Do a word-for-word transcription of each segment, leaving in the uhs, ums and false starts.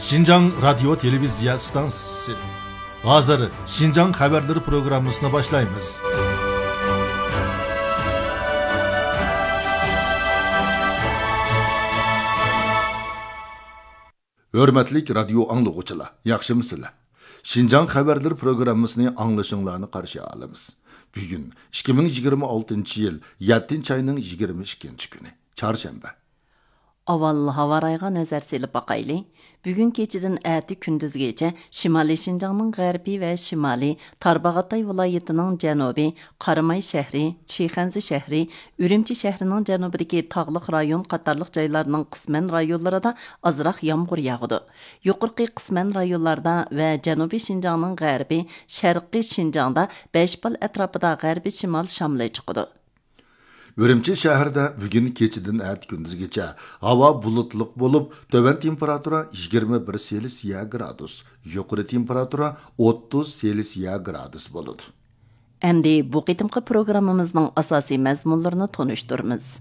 شىنجاڭ رادىيو تېلېۋىزىيە ئىستانسىسى. ھازىر شىنجاڭ خەۋەرلىرى پروگراممىسىنى باشلايمىز. ھۆرمەتلىك رادىيو ئاڭلىغۇچىلار، ياخشىمۇسىلەر؟ شىنجاڭ خەۋەرلىرى پروگراممىسىنى ئاڭلىشىڭلارنى قارشى ئالىمىز. بۈگۈن ئىككى مىڭ يىگىرمە ئالتىنچى يىل يەتتىنچى ئاينىڭ يىگىرمە ئىككىنچى كۈنى، چارشەنبە. ئاۋۋال ھاۋا رايىغا نەزەر سېلىپ باقايلى. بۈگۈن كېچىدىن ئەتە كۈندۈزگىچە شىمالىي شىنجاڭنىڭ غەربى ۋە شىمالى، تارباغاتاي ۋىلايىتىنىڭ جەنۇبى، قاراماي شەھىرى، چىخەنزە شەھىرى، ئۈرۈمچى شەھىرىنىڭ جەنۇبىدىكى تاغلىق رايون قاتارلىق جايلارنىڭ قىسمەن رايونلىرىدا ئازراق يامغۇر ياغىدۇ. يۇقىرىقى قىسمەن رايونلاردا ۋە جەنۇبىي شىنجاڭنىڭ غەربى، شەرقىي شىنجاڭدا بەش بال ئەتراپىدا غەربىي شىمال شامىلى چىقىدۇ. ئۈرۈمچى شەھىرىدە بۈگۈن كېچىدىن ئەتە كۈندۈزگىچە ھاۋا بۇلۇتلۇق بولۇپ، تۆۋەن تېمپېراتۇرا يىگىرمە بىر سېلسىيە گرادۇس، يۇقىرى تېمپېراتۇرا ئوتتۇز سېلسىيە گرادۇس بولىدۇ. ئەمدى بۇ قېتىمقى پروگراممىمىزنىڭ ئاساسىي مەزمۇنلىرىنى تونۇشتۇرىمىز.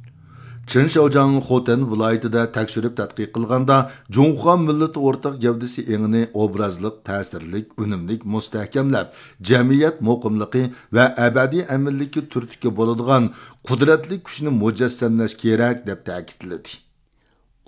چېن شياۋجياڭ خوتەن ۋىلايىتىدە تەكشۈرۈپ تەتقىق قىلغاندا، جۇڭخۇا مىللىتى ئورتاق گەۋدىسى ئېڭىنى ئوبرازلىق، تەسىرلىك، ئۈنۈملۈك مۇستەھكەملەپ، جەمئىيەت مۇقىملىقى ۋە ئەبەدىي ئەمىنلىككە تۈرتكە بولىدىغان قۇدرەتلىك كۈچنى مۇجەسسەملەش كېرەك، دەپ تەكىتلىدى.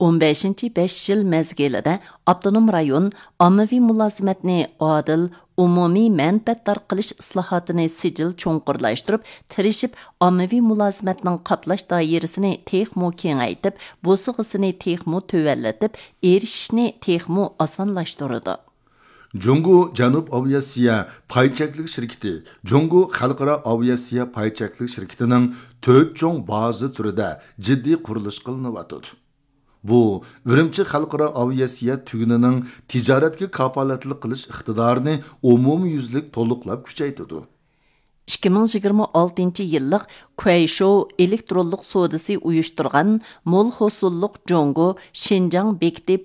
ئون بەشىنچى بەش يىل مەزگىلىدە ئاپتونوم رايون ئاممىۋى مۇلازىمەتنى ئادىل، ئومۇمىي مەنپەئەتدار قىلىش ئىسلاھاتىنى سىجىل چوڭقۇرلاشتۇرۇپ، تىرىشىپ ئاممىۋى مۇلازىمەتنىڭ قاپلاش دائىرىسىنى تېخىمۇ كېڭەيتىپ، بوسۇغىسىنى تېخىمۇ تۆۋەنلىتىپ، ئېرىشىشنى تېخىمۇ ئاسانلاشتۇرىدۇ. جۇڭگو جەنۇب ئاۋىئاتسىيە پاي چەكلىك شىركىتى، جۇڭگو خەلقئارا ئاۋىئاتسىيە پاي چەكلىك شىركىتىنىڭ تۆت چوڭ بازا تۈرىدە جىددىي قۇرۇلۇش قىلىنىۋاتىدۇ. بۇ ئۈرۈمچى خەلقئارا ئاۋىئاتسىيە تۈگۈنىنىڭ تىجارەتكە كاپالەتلىك قىلىش ئىقتىدارىنى ئومۇميۈزلۈك تولۇقلاپ كۈچەيتىدۇ. ئىككى مىڭ يىگىرمە ئالتىنچى يىللىق كۇەيشوۋ ئېلېكترونلۇق سودىسى ئۇيۇشتۇرغان مول ھوسۇللۇق جۇڭگو شىنجاڭ بېكىتى